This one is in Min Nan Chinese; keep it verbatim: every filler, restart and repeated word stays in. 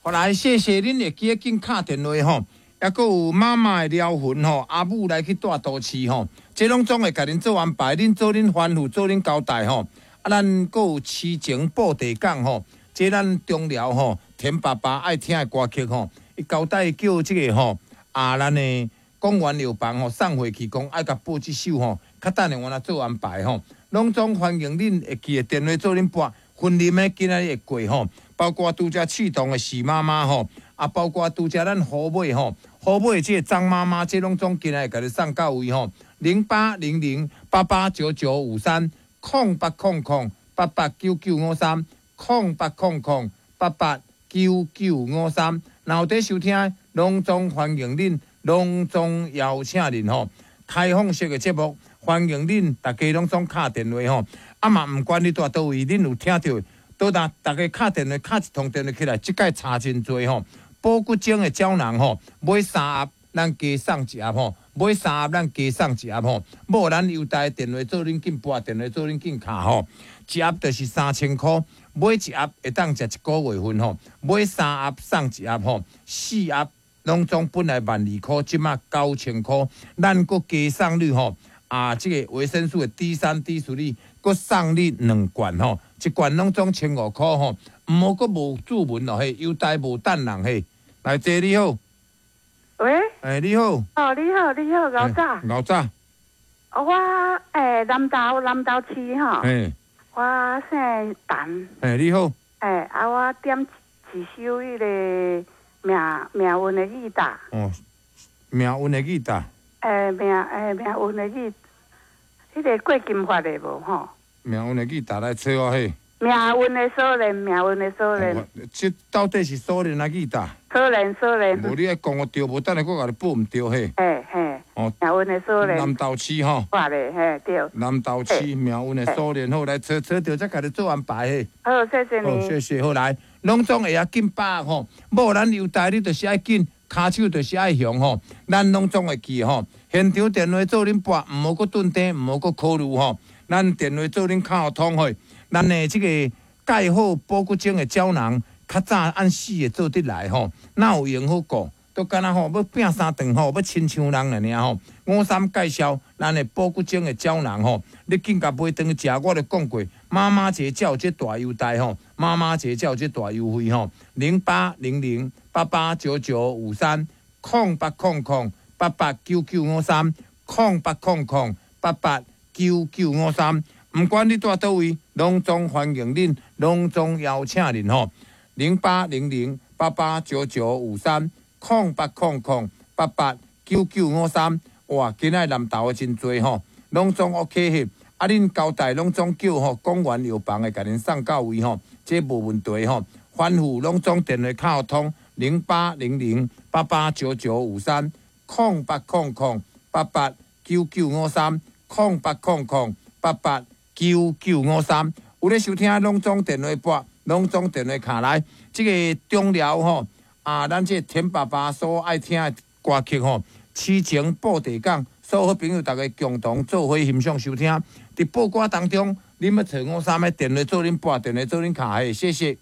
好來，謝謝恁會記得緊敲電話吼，抑閣有媽媽的療魂吼，阿母來去蹛都市吼，這攏總會共恁做安排，恁做恁吩咐，做恁交代吼。啊，咱閣有痴情布袋港吼，這咱中寮吼，田爸爸愛聽的歌曲吼，伊交代叫這個吼，啊，咱的廣元藥房吼送貨去講愛共報這首吼，較等下我來做安排吼，攏總歡迎恁會記得電話做恁撥，雲林的今仔日會過吼。包括拄才刺桐的許媽媽吼，啊，包括拄才咱虎尾吼，虎尾這個張媽媽，這攏總今仔日共你送到位吼，零八零零八八九九五三，空八空空八八九九五三，空八空空八八九九五三，若有佇收聽，攏總歡迎恁，攏總邀請恁吼，開放式的節目，歡迎恁逐家攏總敲電話吼，啊嘛毋管你蹛佗位，恁有聽著。倒當逐家敲電話，敲一通電話起來，這擺差真濟吼。保骨精的膠囊吼，買三盒咱加送一盒吼，買三盒咱加送一盒吼。無咱優待電話做恁緊撥，電話做恁緊敲吼。一盒就是三千箍，買一盒會當食一個月份吼。買三盒送一盒吼，四盒攏總本來萬二箍，這馬九千箍，咱閣加送你吼。啊，這個維生素的 D 三、D 四，閣送你兩罐吼，一罐攏總千五箍吼，毋好閣無注文咯嘿，優待無等人嘿。來，姐你好。喂。欸，你好。哦，你好，你好，老早。老早。我欸，南投南投市吼。欸。我姓陳。欸，你好。欸，啊，我點一首彼个命命運的吉他。哦，命運的吉他。欸，命欸命運的吉，彼个郭金發的無吼？命運的吉他來揣我彼。命運的鎖鏈，命運的鎖鏈。這到底是鎖鏈抑吉他？鎖鏈，鎖鏈。無你愛講我對，無等下閣共你報毋對彼。嘿嘿。哦。命運的鎖鏈。南投市吼。發的嘿對。南投市命運的鎖鏈好，來揣揣著才共你做安排彼。好，謝謝你。好，謝謝。好來，攏總會曉緊把握吼，無咱優待你就是愛緊，跤手就是愛雄吼，咱攏總會記吼。現場電話做恁撥，毋好閣頓電，毋好閣考慮吼。咱電話做恁敲通去，咱的這個蓋好保骨精的膠囊，較早按四個做得來吼，哪有閒好顧？都敢若吼欲拚三頓吼，欲親像人爾吼。五三介紹咱的保骨精的膠囊吼，你緊共買轉去食，我就講過，媽媽節才有這大優待吼，媽媽節才有這大優惠吼，零八零零八八九九五三，空八空空八八九九五三，空八空空八八九九五三，毋管你蹛佗位，攏總歡迎恁，攏總邀請恁吼，零八零零八八九九五三，空八空空八八九九五三，哇，今仔南投的真濟吼，攏總 OK 彼，啊，恁交代攏總叫吼，廣元藥房會共恁送到位吼，這無問題吼。吩咐攏總電話敲通零八零零八八九九五三，空八空空八八九九五三，空八空空八八九九五三。有咧收聽，攏總電話撥，攏總電話敲來。這個中寮吼，啊，咱這個田爸爸所愛聽的歌曲吼，痴情布袋港，所有好朋友逐家共同做伙欣賞收聽。佇報歌當中，恁欲揣五三的電話做恁撥，電話做恁敲，嘿，謝謝。